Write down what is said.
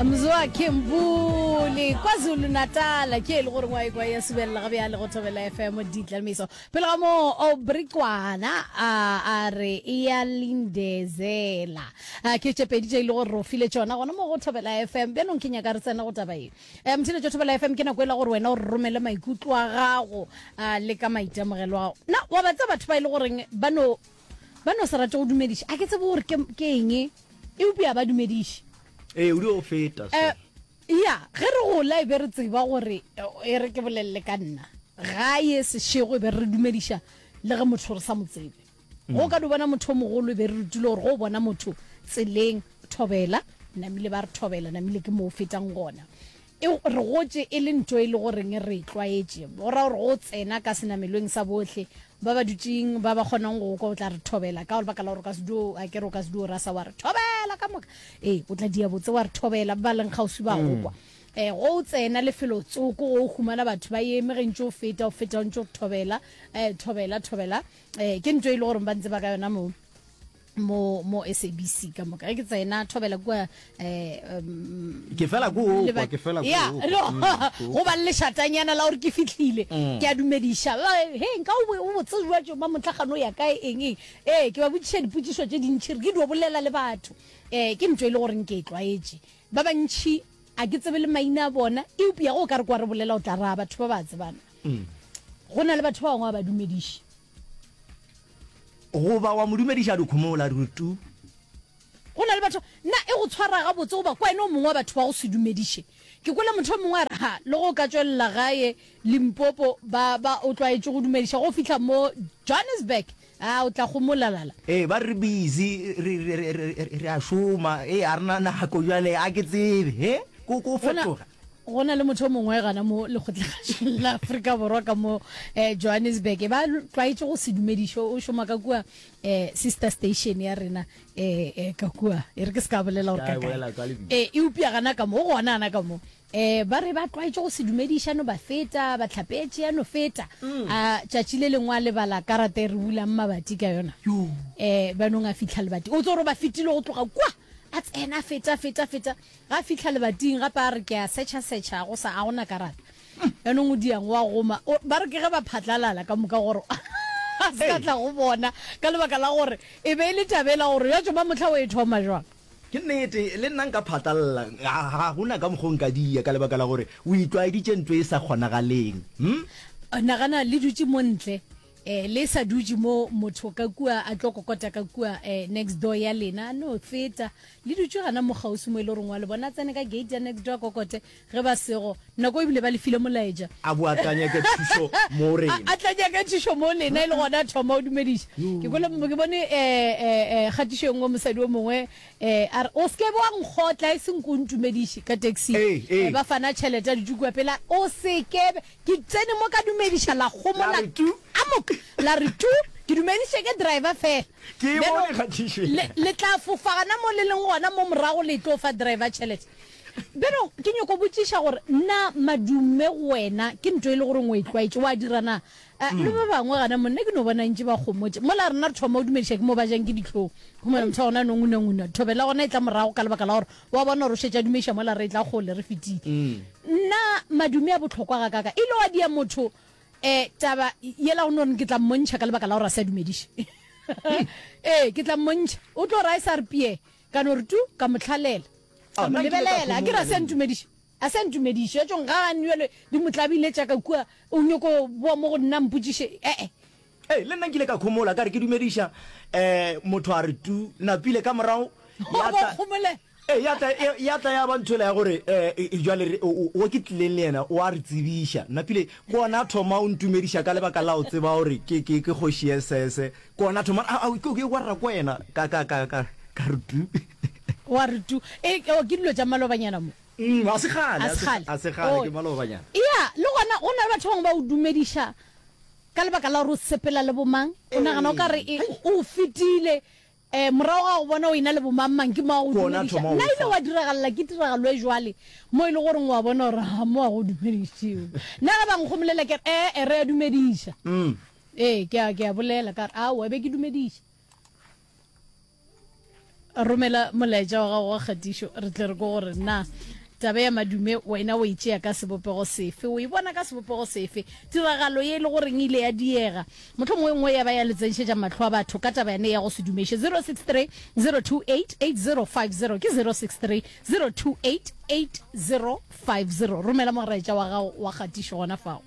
Mzwakhe Mbuli KwaZulu Natal ke e le gore ngwa ekwa ya subelela ga bjale go Thobela FM Ditlamiso pele ga moo Obrikwana a a re e ya lindezela a ke tše pedi tše e le gore re file tšona gona mo go Thobela FM bjanong ke nyaka re tsena go taba ye um motšheletšo Thobela FM ke nako e la gore wena o re romele maikutlo a gago a le ka maitemogelo a gago na wa ba tseba batho ba e le goreng ba no ba no se rate go dumediša a ke tsebe gore ke ke eng eupša ba dumediše Ee, o dio feta so. Eh, ya ge re gola e be re tseba gore e re ke bolelele ka nna gae sešego e be re dumediša le ge motho re sa mo tsebe go ka di bona motho o mogolo e be re rutile gore go o bona motho tseleng thobela namile ba re thobela namile ke mo o fetang gona E, re gotše e le nto e le goreng re e tlwaetše. Go ra gore go tsena ka senamelweng sa bohle ba ba dutšeng, ba ba kgonang go kwa, o tla re thobela ka lebaka la gore o ka se dio, a ke re o ka se dio rasa wa re thobela ka moka. Ee, o tla dia botse wa re thobela, ba ba leng kgauswi ba go kwa. E, go o tsena lefelo tsoko, go o humana batho ba eme ge ntše o feta, o feta o ntše o thobela, e, thobela, thobela. E, ke nto e le goreng ba ntse ba ka yona mo. mo mo SABC ka moka ge ke tsena thobela kua eh um, ke fela ko o kwa ke fela ko ya no go ba le lešatanyana la gore ke fihlile mm. ke a dumediša he nka o botse jwa tšo ba motlhagano ya kae eng eng ee ke ba botšiša dipotšišo tše dintšhi re ke dio bolela le batho um ke ntho e le goreng ke e tlwaetše ba bantšhi a ke tsebe le maina a bona eupša go ka re kwa re bolela o tla raya batho ba ba tsebana mm. go na le batho ba bangwe ba ba dumediše Goba wa mo dumediša dikhomola re tu. Go na le batho, na e go tshwara gabotse goba kwa ene o mongwe wa batho ba go se dumediše? Ke kwele motho o mongwe a re, Ha, le ge o ka tšwelela gae Limpopo, ba, ba, o tlwaetše go dumediša, ge o fihla mo Johannesburg, a, o tla gomolalala. Ee, ba re re busy, re, re, re, re, re a šoma, ee, ga re na nako bjale, a ke tsebe, he, ko, ko fetoga. Go na le motho o mongwe gana mo lekgotlakgašong la Afrika Borwa ka mo eh, Johannesburg ba tlwaetše go se dumediše o šoma ka kua eh, sister station ya rena eh, eh, ka kua e re ke se ka bolela gore ka kae eh, eupša gana ka mo o gona gana ka mo eh, ba re ba tlwaetše go se dumediša no ba feta ba tlhapetše ya no feta mm. a tšatši le lengwe a lebala karata e re bulang mabati ka yona eh, ba nong a fitlha lebati o tso gore ba fetile go tloga kua a tsena feta feta feta Ga a fihla lebating gape a re ke a setšha-setšha go sa a gona karata. Jaanong o diang o a goma. O, ba re ke ge ba phatlalala ka moka gore a se ka tla go bona ka lebaka la gore e be e le taba ela gore ya tšoma mohla o e thoma jwang. Ke nnete, le nna nka phatlalala, ga, ga go na ka mokgo nka dia ka lebaka la gore o itlwaeditše ntho e sa kgonagaleng. Hm? Nagana le dutše mo ntle Eh, le sa dutše mo motho ka kua a tlo kokota ka kua eh, next door ya lena a no feta le dutše gana mo kgauswi mo e le goreng wa le bona tsene ka gate ya next door a kokote ge ba sego nako ebile ba le file molaetša a bo a tla nyaka thušo mo rena a tla nyaka thušo mo lena e le gona a thoma o dumediša ke kwele ke bone eh, eh, eh, kgatišo e nngwe mosadi o mongwe eh, a re o se ke wa nkgotla e seng ko ntumediše ka taxi eh, ba fana tšhelete a dutše kua pela o se ke Ke tsene mo ka dumediša la gomola amok la re tu ke dumediše ke driver fela. Ke e bone kgatišo ye. Le tla fofa gana mo le leng gona mo morago le tlo fa driver tšhelete. Bjalo ke nyoko botšiša gore na madume go wena ke nto e le goreng o e tlwaetše wa dira na? Le ba bangwe gana mo nna ke no bona ntše ba gomotše. Mola rena re thoma go dumediša ke mo ba jang ke dihlong. Humana motho wa gona a no ngunanguna. Thobela gona e tla morago ka lebaka la gore Wa bona gore o šetše a dumeiša mola re etla kgole, re fetile. Nna madume a bohlokwa gakaaka. E ile wa dia motho um taba yela go no re ke tla mmontšha ka lebaka la gore a se a dumediše. Ee, ke tla mmontšha. O tlo ra e sa re pie, ka no re tu, ka mo hlalela. Ka mo lebelela, a ke re a se a ntumediše. A se a ntumediše. Ya tšong ga a nwele di mo tlabile tša ka kua, o nyoko boa mo go nna a mpotšiše. E-e. Ee, le nna nkile ka khomola ka re ke dumediša um motho a re tu napile ka morago ya tla ee ya tla ya tla ya ba ntho ya gore um jwale o ke tlileng le yena o a re tsebiša napile ke ona a thoma o ntumediša ka lebaka la o tseba gore ke ke ke kgoši sese ke ona thoma a ke wa rra ko wena ka ka ka ka ka re tu wa re tu e ke dilo tša malobanyana mo Mm, a se kgale a se kgale ke malobanyana ya le gona go na le batho bangwe ba o dumediša Ka lebaka la gore o sepela le bomang, o nagana o ka re e, o fetile. Um morago ga go bona o ena le bomang-mang, ke mo a go dumediša. Nna ile wa diragalela ke tiragalo e jwale, mo e le goreng wa bona gore ha mo a go dumedišiwe. Nna ge ba nkgomolela ke re, ee, re a dumediša. Ee, ke a, ke a bolela ka re, aowa, be ke dumediša. Romela molaetša wa gago wa kgatišo re tle re kwe gore na taba ya madume wena o e tšea ka sebopego sefe, o e bona ka sebopego sefe. Tiragalo ye e le goreng e ile ya diega, mohlomongwe e nngwe ya ba ya le tsenšetša mahlo a batho ka taba yane ya go se dumeše. 063 028 8050 ke 063 028 8050. Romela molaetša wa gago wa kgatišo gona fao.